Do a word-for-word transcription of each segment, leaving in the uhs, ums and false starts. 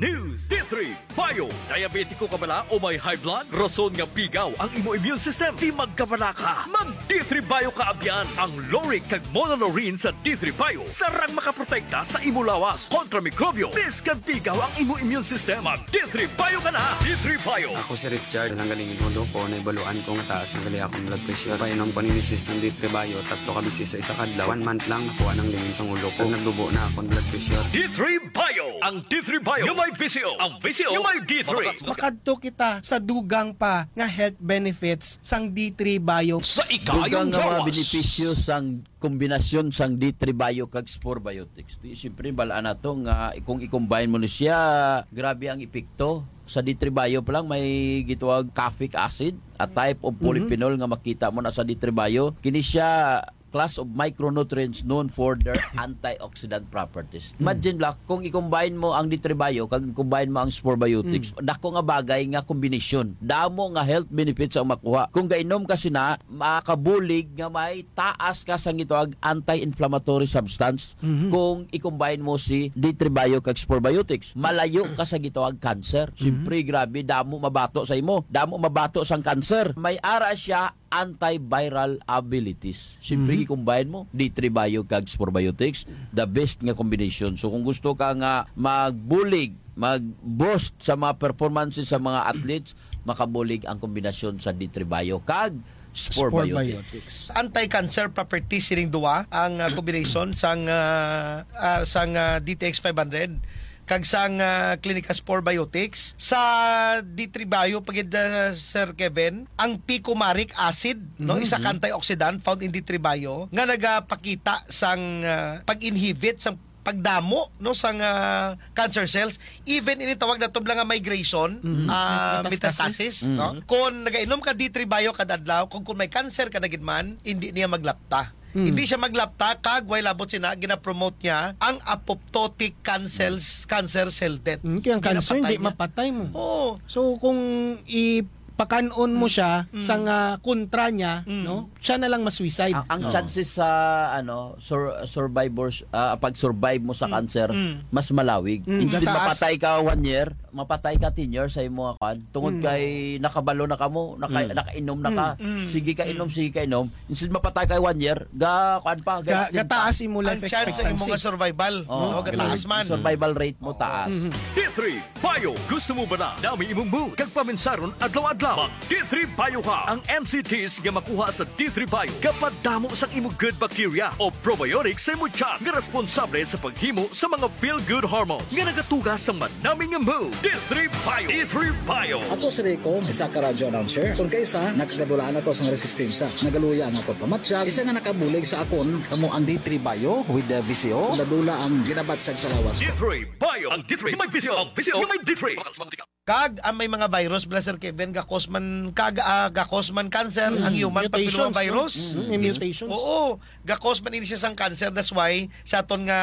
News. D three Bio. Diabetiko ka bala o may high blood? Rason nga pigaw ang imo immune system. Di magkabala ka. Mag D three Bio ka abyan. Ang Loric kag Monolorine sa D three Bio sarang makaprotekta sa imo lawas kontra mikrobyo. Bisan pigaw ang imo immune system, mag D three Bio ka na. D three Bio. Ako si Richard, nanggaling in ulo ko, naibaluan ko nga taas na gali akong blood pressure. Painom ko ni misis sang D three Bio, tatlo ka beses sa isa ka adlaw. One month lang, nakuha ng lingin sang ulo ko. Naglubo na akong blood pressure. D three Bio. Ang D three Bio nga may V C O. Ang V C O nga may D three. Makadto kita sa dugang pa nga health benefits sang D three Bio. Sa ikayong Dugang nga mga lawas. Benepisyo sang kombinasyon sang D three Bio kag Spore Biotics. Di, siyempre, balaan nato nga kung i-combine mo ni siya, grabe ang epekto. Sa D three Bio pa lang, may gitawag caffeic acid, a type of Mhm. polyphenol nga makita mo na sa D three Bio. Kini siya class of micronutrients known for their antioxidant properties. Mm. Imagine, Black, kung i-combine mo ang D three Bio kag i-combine mo ang Spore Biotics, Mm. dako nga bagay nga kombinasyon. Damo nga health benefits ang makuha. Kung gainom ka sina, makabulig nga may taas ka sang gitawag anti-inflammatory substance Mhm. kung i-combine mo si D three Bio kag Spore Biotics. Malayo ka sa gitawag cancer. Mhm. Siyempre, grabe, damo mabato sa imo. Damo mabato sang cancer. May ara siya antiviral abilities. Siyempre, Mhm. i-combine mo, D three Bio kag Spore Biotics, the best nga combination. So, kung gusto ka nga magbulig, mag-boost sa mga performances sa mga athletes, makabulig ang kombinasyon sa D three Bio kag Spore Spore Biotics. Biotics. Anti-cancer properties sining duwa ang, ah, combination sang, ah, ah, sang, ah, D T X five hundred kag sang, ah, Clinica Spore Biotics. Sa D three Bio pa gid, ah, Sir Kevin, ang picomaric acid, no, Mhm. isa ka antioxidant found in D three Bio nga nagapakita sang, ah, pag-inhibit sang pagdamo, no, sang, ah, cancer cells, even ini tawag nato lang nga migration, Mhm. ah, Metastasis. metastasis, no? Mhm. Kung nagainom ka D three Bio kada adlaw, kung, kung may cancer ka na gid man, hindi niya maglapta. Mm. Hindi siya maglapta, kag way labot sina, ginapromote niya ang apoptotic cancer, Mm. cancer cell death. Mm, kaya ang cancer, Ginapatay hindi niya. mapatay mo. Oo. So, kung ipakan-on mo Mm. siya Mm. sa nga kontra niya, Mm. no? Siya na lang ma-suicide. Ang, ang Oo. chances sa, ano, sur-, survivors, ah, pag-survive mo sa Mm. cancer, Mm. mas malawig. Mm. Instead Mataas. mapatay ka one year, mapatay ka ten years sa imo nga kwan. Tungod Mm. kay nakabalo na ka mo, naka-, Mm. nakainom na ka. Mm. Mm. Sige ka inom, Mm. sige ka inom. Instead mapatay ka one year, ga, kwan pa, Ga-, ga-extend pa. gataas imo life Ang chance sa imo expectancy. nga survival, Oo. no, gataas Ang man. survival rate mo Oo. taas. Mhm. D three Bio. Gusto mo ba na dami imong mood kag paminsaron adlaw-adlaw? Mag D three Bio ka. Ang N C Ts nga makuha sa D three Bio gapadamo sang imo good bacteria o probiotics sa imo tiyan nga responsable sa paghimo sa mga feel-good hormones nga nagatuga sa manami nga mood. D three Bio. D three Bio. Ako si Rico, isa ka radio announcer. Kung kaisa, nakagadulaan ako sang resistensya. Nagaluya ang akon pamatyag. Isa nga nakabulig sa akon, kamo ang D three Bio with the V C O. Dula-dula ang ginabatyag sa lawas ko. D three Bio. Ang D three may V C O. Ang V C O may D three. Kag ang may mga virus, bala, Sir Kevin, gakos man, kag, ah, gakos man cancer Mm. ang human Mutations, papilloma no? virus. Mm, may mutations. Oo, gakos man ini siya sang cancer. That's why sa aton nga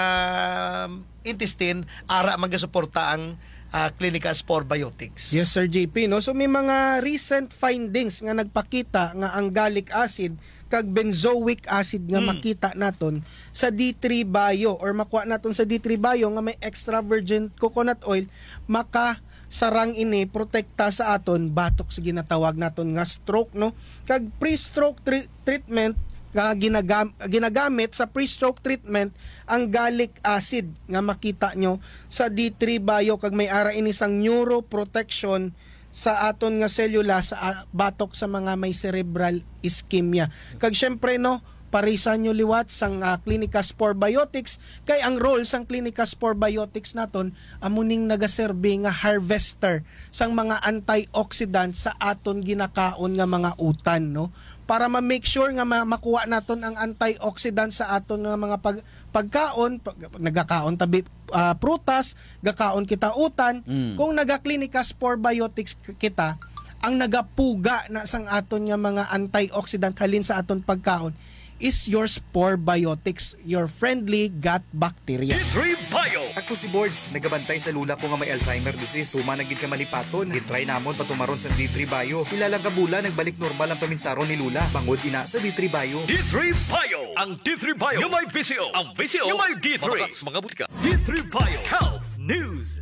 intestine, ara man gasuporta ang, ah, Clinica Spore Biotics. Yes, Sir J P, no? So, may mga recent findings nga nagpakita nga ang gallic acid kag benzoic acid nga Mm. makita naton sa D three Bio or makuha naton sa D three Bio nga may extra virgin coconut oil, makasarang ini, protekta sa aton batok sa ginatawag naton nga stroke, no? Kag pre-stroke tre-, treatment nga ginagam-, ginagamit sa pre-stroke treatment ang gallic acid nga makita nyo sa D three Bio kag may ara ini sang neuroprotection sa aton nga selula sa, ah, batok sa mga may cerebral ischemia. Kag syempre, no, parisan nyo liwat sang, ah, Clinica Spore Biotics, kay ang role sang Clinica Spore Biotics naton amo ning nagaserbi nga harvester sang mga antioxidant sa aton ginakaon nga mga utan, no? Para ma-make sure nga ma-, makuha naton ang antioxidant sa aton nga mga pag-, pagkaon, pag-, nagakaon tabi, ah, prutas, gakaon kita utan. Mm. Kung naga-Clinica Spore Biotics k-, kita, ang nagapuga na sang aton nga mga antioxidant halin sa aton pagkaon is your Spore Biotics, your friendly gut bacteria. D three Bio. Ako si Borge, nagabantay sa lula ko nga may Alzheimer disease. Tuman na gid ka malipaton. Gitry namon patumaron sa D three Bio. Pila lang ka bulan, nagbalik normal ang paminsaron ni Lula. Bangod ina sa D three Bio. D three Bio. Ang D three Bio nga may V C O. Ang V C O nga may D three. Mga, mga butika. D three Bio Health News.